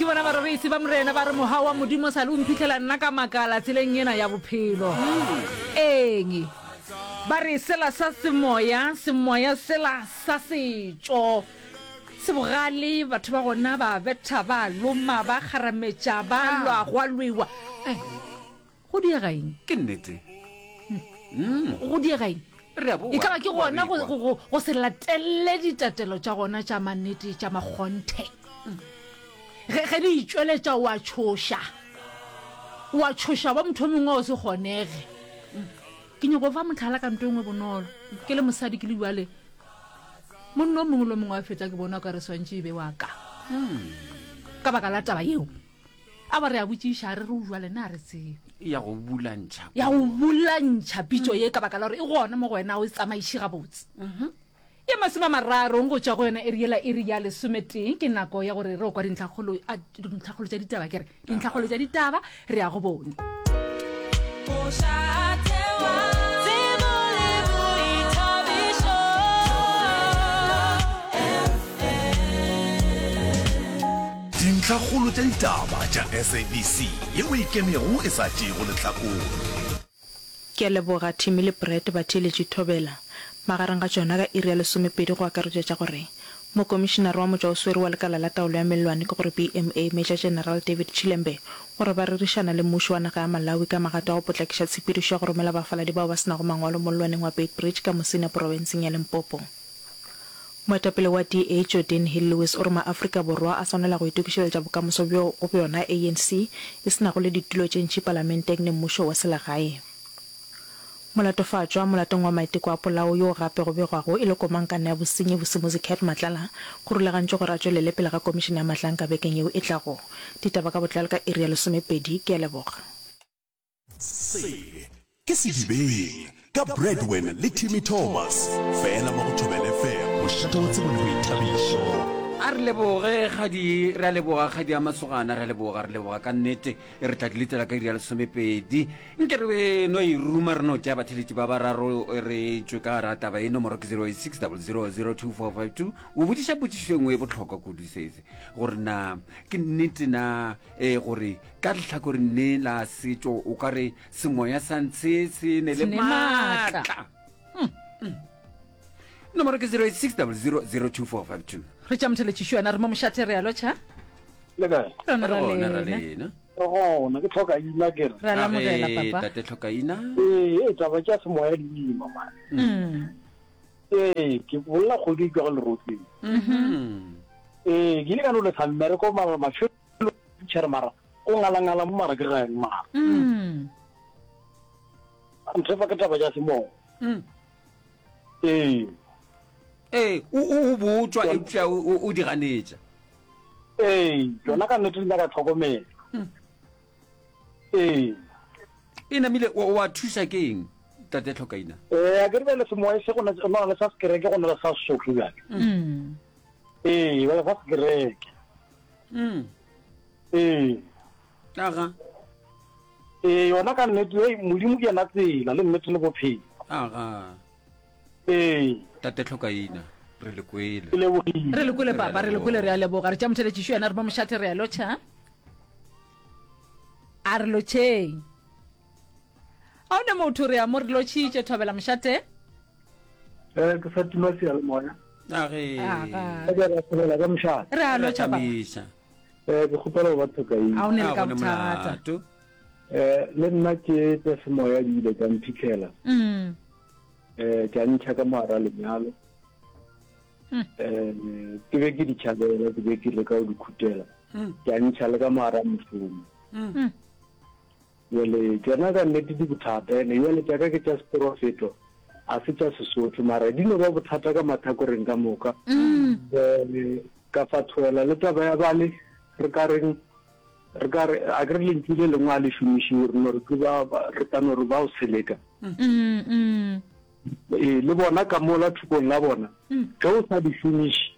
bona barorisi ba Morena ba re mogau wa Modimo sa le o mphitlhela nna ka makala tseleng ena ya bophelo. Eng? Ba re sela sa semoya, semoya sela sa setšo se bogale, batho ba gona ba betha, ba loma, ba kgarametša, ba lwa, gwa lwewa. Eh, Go diega eng? Ke nnete. Go diega eng? Re a boa. E ka ba ke gona go, go, go, go se latelele ditatelo tša gona tša mannete tša makgonthe. Ge, ge di itšweletša o a tšhoša. O a tšhoša ba motho o mongwe o se kgonege. Ke nyako fa mohlala ka nto e nngwe bonolo. Ke le mosadi ke le bjale. Monna o mongwe le o mongwe wa feta ke bona o ka re swantše e be wa ka. Ka baka la taba yeo. A ba re a botšiša, a re re o jwale na re tsebe. Ya go bulantšha. Ya go bulantšha pitšo ye ka baka la gore e gona mo go wena o e tsamaiše gabotse. Ye masomamararong go tšwa go yona iri yela iri ya lesometee ke nako ya gore re o kwa dintlhakgolo a dintlhakgolo tša ditaba ke re dintlhakgolo tša ditaba re ya go bone. Mošate wa tsebo le boithabišo FM. Dintlhakgolo tša ditaba tša SABC yeo e ikemego e sa tšeego lehlakore. Ke a leboga Timmy le Brad batheeletši Thobela. Magareng ga tšona ka iri ya lesomepedi go akaretšwa tša gore Mokomišenare wa motšwaoswere wa Lekala la Taolo ya Mellwane ke gore BMA Major General David Chilembe o re ba rerišana le mmušo wa naga ya Malawi ka magato a go potlakiša tshepedišo ya go romela bafaladi bao ba se nago mangwalo mollwaneng wa Beitbridge ka Musina porofenseng ya Limpopo. Moetapele wa DA Geordin Hill-Lewis o re maAfrika Borwa a swanela go itokišeletša bokamoso bjo go bjona ANC e se nago le ditulo tše ntši palamenteng le mmušo wa selegae. Molatofatšwa molatong wa maiteko a polao yo gape go begwago e le komangkanna ya bosenyi Vusimuzi Cat Matlala go rulagantšwe gore a tšwelele pele ga komišene ya Mahlanka bekeng yeo e tlago. Ditaba ka botlalo ka iri ya lesomepedi. Ke a leboga. Se ke Sedibeng ka Bradwin le Timmy Thomas, fela mo go Thobela FM, mošate wa tsebo le boithabišo. A re leboge kgadi, re a leboga kgadi ya masogana, re a leboga, re leboga ka nnete. Re tla di letela ka iri ya lesomepedi. Nke re no e ruma, re no tšea batheletši ba bararo re tšwe ka gara taba e. Nomoro ke 086 00 2452. O botšiša potšišo e nngwe e bohlokwa kudu sese, gore na ke nnete na e gore ka lehlakoreng le la setšo o ka re semoya sa ntshe se ne le maatla hmm. Hmm. nomoro ke 086 0002452 re tša motheletšišo yona re mo mošate re a lotšha le kae rona ra lena lena re gona ke tlhokaina ke re re a lamogela papa tate tlhokaina ee ee taba tša semoya di ima mane mm. ee ke bolela kgodi e tšwa go lerotseng mm-hmm. ee ke ile ka no lesa mmereko mara mafelo tšhere mara o ngalangala mo mara ke ga eng mara mm. nthefa ke taba ja semoya mm. ee ee o o botswa eupša o di ganetša ee yona ka nnete di nyaka tlhokomelo mm. ee e namile wa thuša ke eng tate tlhokaina ee a ke re bjale semoya se go na le sa sekereke go na le sa sesotho bjale ee bjale sa sekereke Mm. Ee. Aga. Ee, yona ka nnete, ei, Modimo ke yena tsela le nnete le bophelo. Aga. Ee. Tate Tlhokaina, re le kwele. Ke lebogile. Re le kwele papa, re le kwele, re a leboga. Re tša motheletšišo yena re mo mošate re a lotšha. A re lotšheng. A o ne motho re a mo re lotšhitše thobela mošate. Eh, ke sa tima seyalemoya. Age. Aga. Ke ra thobela ka mošate. Re a lotšha papa. Tamiša. Eh, ke kgopela go ba thokaina. A o ne le A ka go ne bothata. molato. Eh, le nna ke tša semoya di ile tša mphitlhela. Mm. Eh, tša ntšha ka mogara lenyalo. Mm. Eh, ke be ke di tšhabela, ke be ke leka go di khutela. Mm. Tša ntšha le ka mogara mošomo. Mm. Bjale tšona ka nnete di bothata, ene bjale tša ka ke tša seporofeto, a se tša Sesotho, mara di no ba bothata ka mathakoreng ka moka. Um ka fathoela le taba ya bale re ka reng, re ka re, a ke re lentšu le lengwe a le šomišiwe, re no re ke ba, re ka no re ba o seleka. Ee, le bona ka mola thokong la bona, ge o sa di šomiše,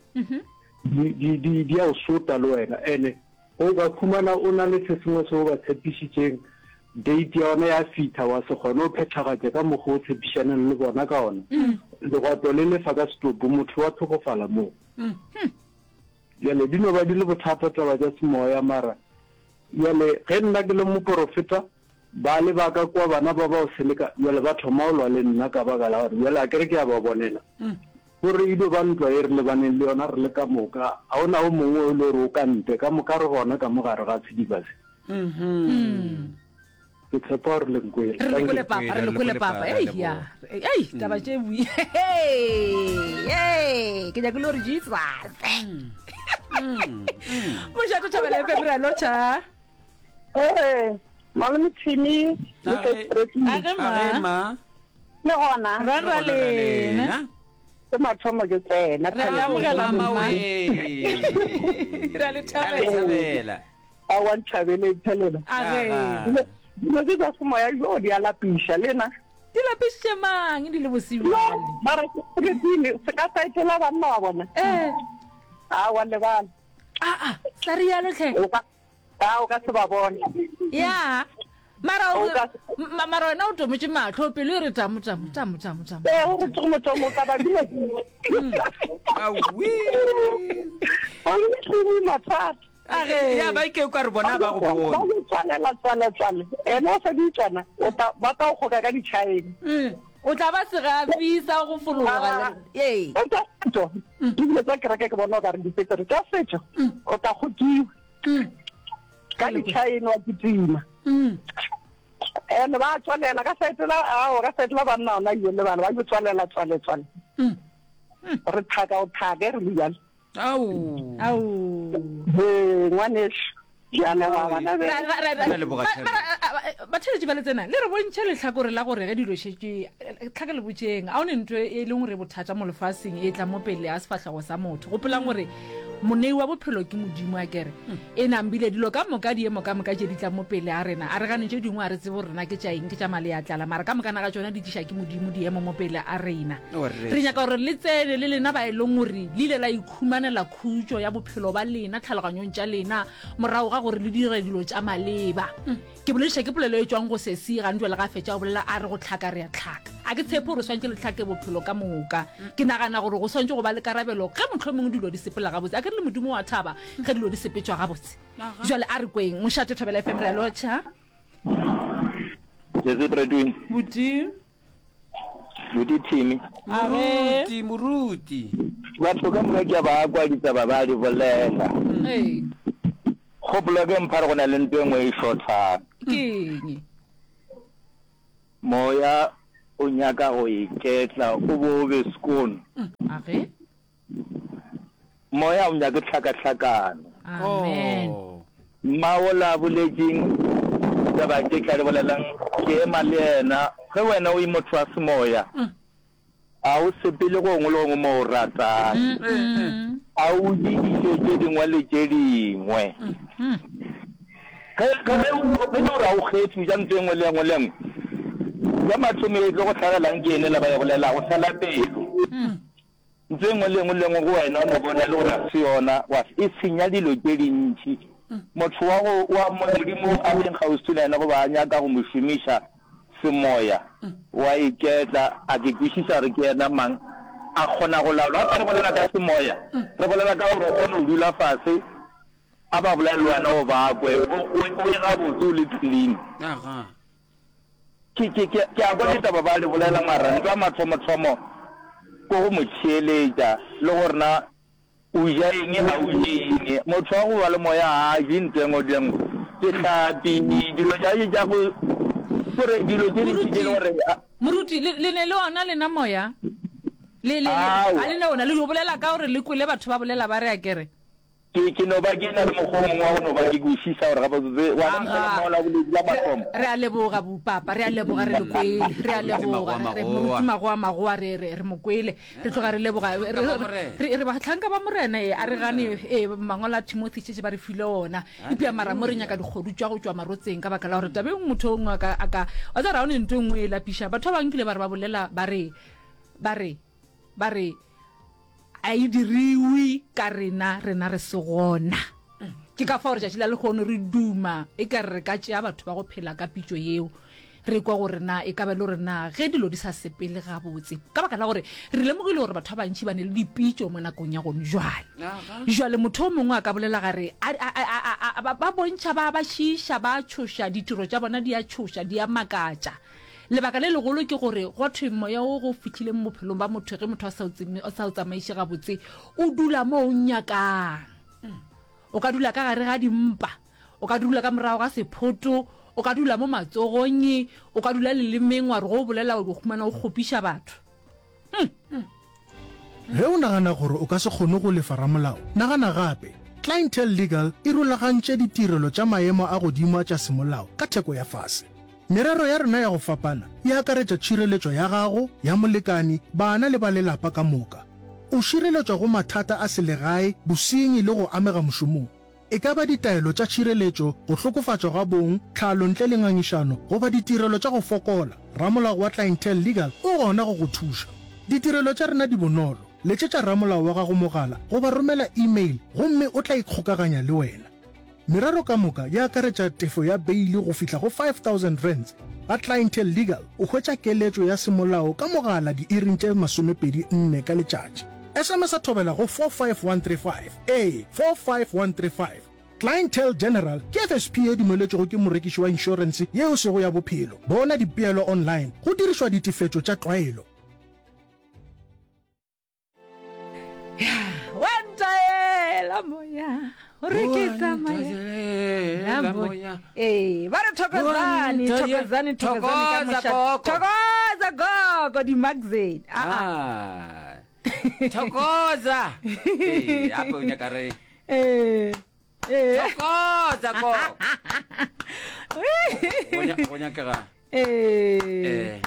di, di, di, di a o sota le wena, ene O ka khumana o na le se sengwe se o ba tshepišitšeng, date ya ona ya fitha, wa se kgone go phethagatša ka mokgwa o tshepišaneng le bona ka ona. Legwato le lefa ka setopo, motho wa hlokofala moo. Bjale di no ba di le bothata taba tša semoya, mara bjale ge nna ke le moporofeta, bale ba ka kua bana ba bao seleka, bjale ba thoma go lwa le nna ka baka la gore bjale akere ke a ba bonela. Gore e dio ba ntwa ye re lebaneng le yona re le ka moka, ga o na o mongwe o e le gore o ka ntle, ka moka re gona ka mo gare ga sediba se. Ke tshepa gore le nkwele. Re le kwele papa, re le kwele papa. Ei ya. Ei taba tše bui. Hey, ke nyaka le gore Jesus. Mošato Thobela FM re a lotšha. Ee, malome Timmy le Age ma. Le gona. Ra ra lena. Ke mathomo ke tsena. Re a amogela mma. Re a le thabela. Aowa nthabeleng phelela. Age. Dilo tse tsa semoya jo di a lapiša lena. Di lapišitše mang di le bosiu bjale? Mara ke Timi se ka sa etela banna wa bona. Eh. Aowa lebala. Aa, sa rialo tlhe. O ka a o ka se ba bone. Ya. Mara o mara wena o tometše mahlo pelo e re tamo tamo tamo tamo tamo. Eh, o re tamo tamo ka ba dilo. Awi. O le mathata. Age. Ya ba ke ka re bona ba go Ba bone. go tswalela tswale tswale. Ene o sa di tswana, o tla ba tla o kgoka ka ditšhaene. Mm. O tla ba segafi sa go fologa. Ah. Ee. O tla setšo. Ebile tsa kereke ke bona o ka re dipetsere tša setšo. O tla kgokiwa. Ka ditšhaene wa kitima. Mm. Ene ba tswalela ka saete la ao ka saete la banna ona yo le bana ba yo tswalela tswale tswale. Re thaka o thake re le bjale. Ao. Ao. He, ngwanešu. Ke a leboga bana be. Ra- ra- ra- Re a leboga, Ma- Thebe. mara, a- a- batheeletši ba le tsena le re bontšhe lehlakore la gore ge dilo šetše tlhaka le botšeng a o ne ntho e leng gore bothata mo lefaseng e tla mo pele a sefahlego sa motho gopolang gore monei wa bophelo ke modimo a kere e nambile dilo ka moka diemo ka moka tše di tlang mo pele a rena a re gane tše dingwe a re tsebe gore rena ke tša eng ke tša male a tlala mara ka mokana ga tšona di tliša ke modimo diemo mo pele a rena Re nyaka gore le tsene le lena ba e leng gore le ile la ikhumanela khutšo ya bophelo ba lena tlhaloganyong tša lena morago ga gore le dire dilo tša maleba. Ke bolediša ke polelo e tšwang go sesi gane jwale ga fetša go bolela a re go tlhaka re a tlhaka. A ke tshepe gore swantše le tlhake bophelo ka moka. Ke nagana gore go swantše go ba le karabelo ge mohlomongwe dilo di sepela gabotse. A ke re le Modimo wa thaba ge dilo di sepetšwa gabotse. Jwale a re kweng. Mošate Thobela FM re a lotšha. Sesi Bradwin. Buti. Buti Timmy. Moruti, moruti. Batho ka moka ke a ba kwa ditaba ba di bolela. Ee. Kgopolo ke mpha re go na le nto e nngwe e šothang. Ke eng? Moya o nyaka go iketla o bo o be skoon. Age. Moya o nyake tlhakahlakano. Amen. Oh. Mma wola a boletšeng taba tše tla di bolelang, ke ema le yena. Ge wena o e motho wa semoya, a o sepele gongwe le gongwe mo o ratang. A o je dijo tše dingwe le tše dingwe. Ge, ge, ge o, ge e le gore ga o kgethe, o ja ntho e nngwe le e nngwe le e nngwe, ya mathomo e tlo go hlagelang ke ene la ba e bolelago, fela pelo. Ntho e nngwe le e nngwe le e nngwe go wena o no bona e le gore ga se yona, wa e senya dilo tše dintši. Motho wa go, wa Modimo a leng kgauswi le yena goba a nyaka go mo šomiša semoya, wa iketla, a ke kwešiša gore ke yena mang, a kgona go laola. Gape re bolela ka semoya, re bolela ka gore o kgone go dula fase, a ba bolele le wena o ba kwe, o, o, o ye gabotse o le clean. Aga. Ke, ke, ke, ke a kwa ditaba ba di bolela, mara ntwa mathomothomo ke go mo theeletša le gore na o ja eng, ga o je eng. Motho wa go ba le moya ga a je ntho e nngwe le e nngwe, dihlapi, dilo tša, tša go, kore dilo tše dintši tše e le gore. Moruti, le, le ne le ona lena moya? Le, le, le, Aowa. ga le ne ona, le yo bolela ka gore le kwele batho ba bolela ba re a kere. Ke, ke no ba ke na le mokgwa o mongwe wa go no ba ke kwešiša gore gabotsebotse wa Aga. lemoga mola boledi la mathomo. Re a leboga, bopapa, re a leboga, re le kwele. Re a leboga, re, Moruti Magoa Magoa, re, re, re mo kwele. Re tloga re leboga. Re, re, re, re bahlanka ba Morena, ee, a re gane, ee, mangwalo a Timothy šetše ba re file ona. Eupša mara mo re nyaka dikgodu tša go tšwa marotseng ka baka la gore taba e nngwe motho o nngwe a ka, a ka, wa tseba gore ga o ne ntho e nngwe e lapiša. Batho ba bangwe kile ba re ba bolela, ba re, ba re, ba re, A e diriwe ka rena, rena re se gona. Ke ka fao letšatši la lehono re duma e ka re re ka tšea batho ba go phela ka pitšo yeo. Re kwa gore na e ka ba e le gore na ge dilo di sa sepele gabotse, ka baka la gore re lemogile gore batho ba bantši ba ne le dipitšo mo nakong ya gone jwale. Jwale motho o mongwe a ka bolela gare a, a, a, a, a, ba, ba bontšha ba, ba šiiša, ba tšhoša, ditiro tša bona di a tšhoša, di a makatša. Lebaka le legolo ke gore gwa thwe moya wo go fihlile mo bophelong ba motho ge motho a sa o tseme, a sa o tsamaiše gabotse, o dula mo o nyakang. O ka dula ka gare ga dimpa, o ka dula ka morago ga sephoto, o ka dula mo matsogong, o ka dula lelemeng wa re go o bolela o humana o kgopiša batho. Hmm. Ge o nagana gore o ka se kgone go lefa ramolao, nagana gape. Clientele Legal e rulagantše ditirelo tša maemo a godimo a tša semolao ka theko ya fase. Merero ya rena ya go fapana e akaretša tšhireletšo ya gago, ya molekani, bana le ba lelapa ka moka. O šireletšwa go mathata a selegae, bosenyi le go amega mošomong. E ka ba ditaelo tša tšhireletšo, go hlokofatšwa ga bong, tlhalo ntle le ngangišano, goba ditirelo tša go fokola, ramolao wa Clientele Legal o gona go go thuša. Ditirelo tša rena di bonolo, letšetša ramolao wa gago mogala goba romela e-mail gomme o tla ikgokaganya le wena. Merero ka moka e akaretša tefo ya beili go fihla go R5000. Ga Clientele Legal o hwetša keletšo ya semolao ka mogala diiring tše 24 ka letšatši. SMS-a thobela go 45135, ee, 45135. Clientele General ke FSP ye dumeletšwego ke morekiši wa inšorense ye e sego ya bophelo. Bona dipeelo online go dirišwa ditefetšo tša tlwaelo. Wa ntaela moya gore ke tsamaye moya. Ee, ba re thokozane, thokozane, thokozane ka mošate. Thokoza gogo di magazine. Ah, ah. Thokoza. Ee, gape o nyaka re. Ee. Thokoza gogo. Go nyakega. Ee.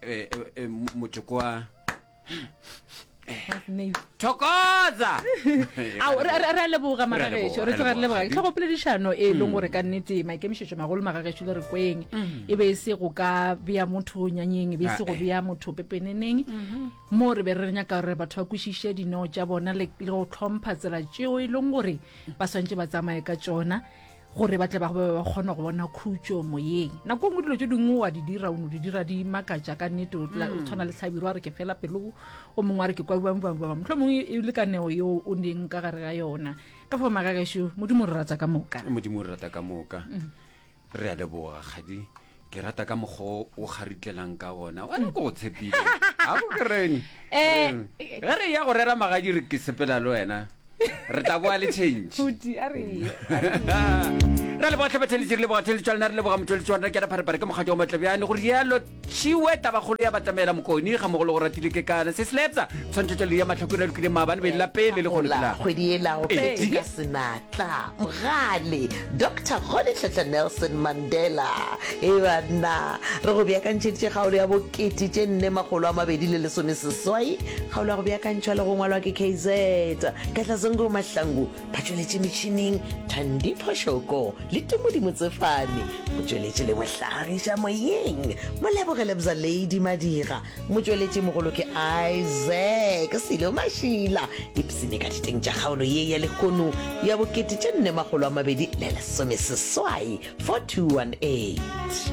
Eh, eh, eh, motšoko wa thokoza Ao, re re- re a leboga magagešo re tloga re leboga tlhogopoledišano e leng gore ka nnete maikemišetšo magolo magagešo le re kweng e be e se go ka bea motho nyanyeng e be e se go bea motho pepeneneng mo re be re nyaka gore batho ba kwešiše dineo tša bona le le go tlhompha tsela tšeo e leng gore ba swantše ba tsamaye ka tšona gore ba tle ba be ba kgona go bona khutšo moyeng. Nako nngwe dilo tše dingwe wa di dira, o no di dira di makatša ka nnete, o tla- o tshwana le Hlabirwa a re ke fela pelo, o mongwe a re ke kwa bjang bjang bjang. Mohlomongwe e le ka neo yeo o neng ka gare ga yona. Ka fao magagešo, Modimo o re rata ka moka. Modimo o re rata ka moka. Re a leboga kgadi. Ke rata ka mokgwa o kgaritlelang ka gona. Wena ke go tshepile. Ga go ke reng. Eh, Ge re ya go rera magadi re ke sepela le wena. Re tla boa le change. Phuti, a re ye. Re leboga tlhe batheletši, re leboga theletšo ya lena, re leboga motšweletši wa rena ke Pharepare ke mokgatšo wa Matlebjane. Go rialo tšhiwe tabakgolo ya batamela mokoni ga mogolo go ratile ke kana se slepsa tshwantšhetšo le ya mahlakore a lokileng maabane be la pele le kgone Gola kgwedi yela go phetše ka senatla mogale Doctor Rolihlahla Nelson Mandela. Hei banna, re go beakantšheditše kgaolo ya bokete tše nne makgolo a mabedi le lesomeseswai. Kgaolo ya go beakantšhwa le go ngwalwa ke KZ Katlazungu Mahlangu. Ba tšweletše metšhineng Thandi Phoshoko le Tumodi Motsefane. Motšweletši le mohlagiša moyeng Moleboge Lebza Lady Madira. Motšweletši mogolo ke Isaac Silo Mašila. Ipsene ka diteng tša kgaolo ye ya lehono ya bokete tše nne makgolo a mabedi le lesomeseswai 4218.